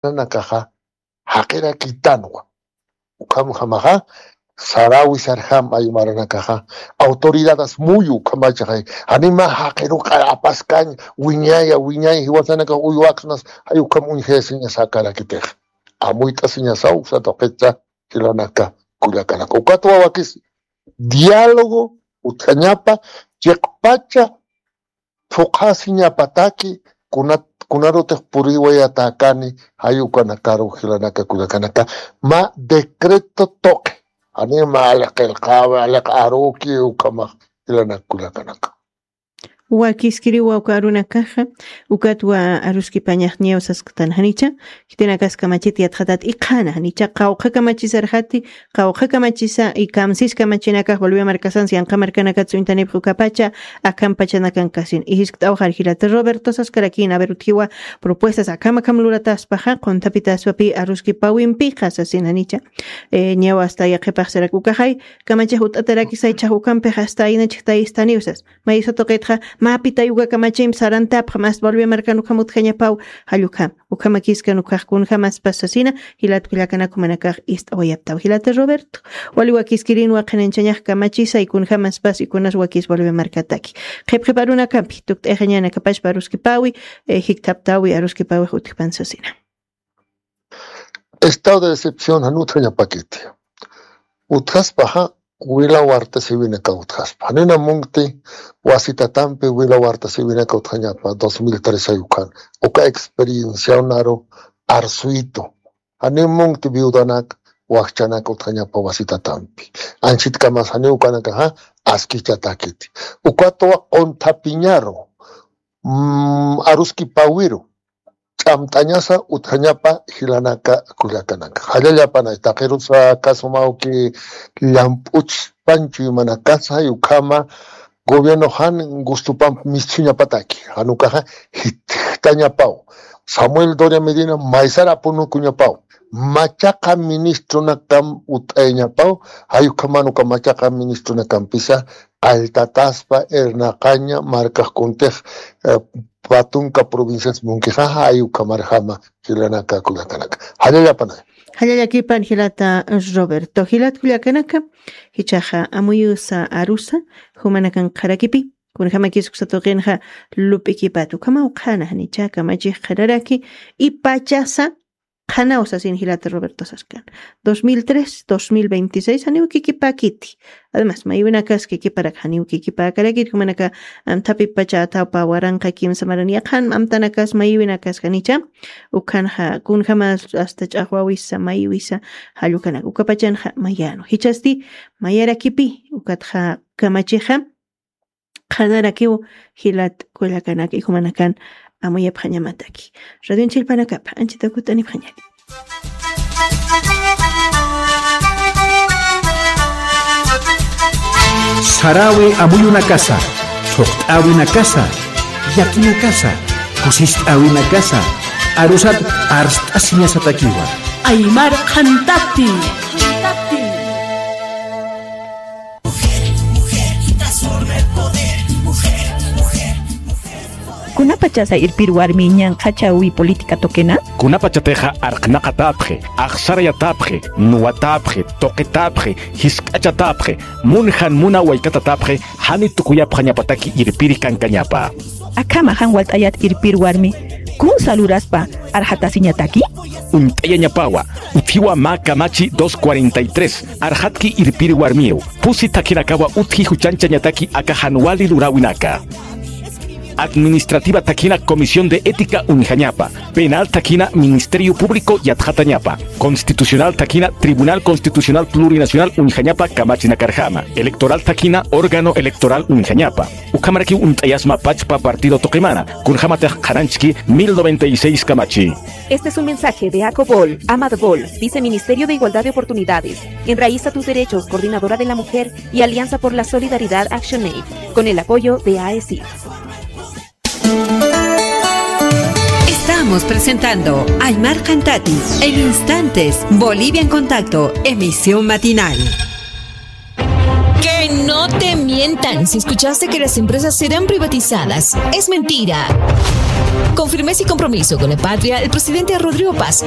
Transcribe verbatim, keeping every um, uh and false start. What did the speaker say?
Nakaxa, jaqirakitanwa. Ukhamjamaxa, sarawi sarjam ay maranakaxa, autoridades muyu ukhamachaxay. Janima jaqiru q'apaskañ, wiñaya, wiñay, jiwasanakax uywaksnas, ay ukham uñjayasiñasakarakitix. Amuyt'asiñasaw, uksa tuqitsa, jilanaka, kullakanaka. Ukatwa wakis, diálogo, utjañapa, chiqpacha, phuqhasiñapataki, kuna-, kunarutix puriwayatäkani, jay ukanakaru jilanaka kullakanaka, mä decreto tuqi. Janima aliq qillqawi, aliq aruki, ukhamax jilanaka kullakanaka. Wakiskiriwa uka arunakaxa, ukatwa aruskipañax ñaw sasktan janicha, khitinakas kamachit yatxatat iqhana janicha, qawqha kamachisarjati, qawqha kamachisa, y kamsis kamachinakax Bolivia markasans, yanqa markanakats uñtanipx ukapacha, akham pachanakankasin. Y jiskt'awxar jilata Roberto saskarakïn, a ver, utjiwa propuestas akham akham lurataspaxa, qunthapitaspapi aruskipawimpixa sasin janicha. Eh, ñaw hasta yaqhipax sarak ukaxay, kamachix ut'atarakisay chhax ukampix hasta aynachix tayistaniw sas. Mayusa tuqitxa, mä pitay uka kamachimp sarantapxa, mä Bolivia markan ukham utjañapaw, jall ukham, ukhamakiskan ukax kunjamaspas sasina, jilat kullakanak jumanakax ist'awayaptaw. Jilata Roberto, wali wakiskirinwa qhanañchañax kamachisay kunjamaspas y kunas wakis Bolivia markataki. Qhipqhip arunakampi, tukt'ayxañanakapachpa aruskipawi, eh, jikthaptawi aruskipawix utjpan sasina. Estado de excepción jan utjañapakiti. Utjaspaxa, wila warta siwinaka utjaspa. Janina munkti wasitatampi wila warta siwinaka utjañapa, dos mil tres ay ukan. Uka experienciaw naru arsuyitu. Janin munkti viudanak, wakchanak utjañapa wasitatampi. Anchitkamas janiw ukanakaxa, askichatakiti. Ukatwa qunthapiñaru, mm, aruskipawiru. Ch'amt'añasa utjañapa jilanaka kullakanaka. Jallallapanay, taqirusa kasumawki llamp'uchpan chuymanakasa, ukhama gobierno jan gustupamp misthuñapataki, jan ukaxa jitjtañapaw. Samuel Doria Medina maysar apunukuñapaw. Machaqa ministronakam ut'ayañapaw, jay ukhaman uka machaqa ministronakampisa, qalltataspa irnaqaña markax kuntix, eh, patunka provincias munkixa, jay ukhamarjama jilanaka kullakanaka. Jallallapanay. Jallallakipan jilata Roberto. Jilat kullakanaka, jichhaxa amuyusa arusa, jumanakan qharakipi, kunjamakis uksa tuqinxa lup'ikipat, ukhamaw qhana janicha kamachix qhanaraki, y pachasa, qhanaw sasin jilata Roberto saskan. Dos mil tres, dos mil veintiséis, janiw kikipakiti. Además, maywinakas kikiparak janiw kikipäkarakit, jumanaka amthapi pacha athawpa waranqa kimsa maran yaqhan amtanakas maywinakas janicha. Ukhanxa, kunjamas hasta ch'aqwawisa, maywisa, jall ukanak. Ukapachanxa mayänu. Jichhasti, mayarakipi, ukatxa kamachixa, qhanarakiw jilat kullakanak y jumanakan amuyapxañamataki. Radionchillpanakapa, anchita kut'anipxañani. Sarawi amuyunakasa, thuqt'äwinakasa, llakinakasa, kusist'äwinakasa, arusat arst'asiñasatakiwa. Aymar qhantati. Kunapachasa irpir warmi ñanqhachawi política tuqina? Kunapachatixa arqnaqatäpxi, axsarayatäpxi, nuwatäpxi, tuqitäpxi, jisk'achatäpxi, munjan muna waykatatäpxi, jani tukuyapxañapataki irpiri kankañapa. Akhama jan walt'ayat irpir warmi, kunsa luraspa arxatasiñataki? Uñt'ayañapawa, utjiwa mä kamachi dos cuarenta y tres, arxatki irpir warmiw, pusi thakhinakawa utji juchañchañataki aka jan wali luräwinaka. Administrativa thakhina Comisión de Ética uñjañapa, penal thakhina Ministerio Público yatxatañapa, constitucional thakhina Tribunal Constitucional Plurinacional uñjañapa kamachinakarjama, electoral thakhina órgano electoral uñjañapa. Ukhamarakiw uñt'ayasma pachpa partido tuqimana, kunjamatix qhananchki mil noventa y seis kamachi. Este es un mensaje de ACOBOL, AMADBOL, Viceministerio de Igualdad de Oportunidades, Enraiza tus Derechos, Coordinadora de la Mujer y Alianza por la Solidaridad Action Aid, con el apoyo de AECID. Estamos presentando Aymar Qhantati. En instantes, Bolivia en Contacto, emisión matinal. Que no No te mientan si escuchaste que las empresas serán privatizadas. Es mentira. Con firmeza y compromiso con la patria, el presidente Rodrigo Paz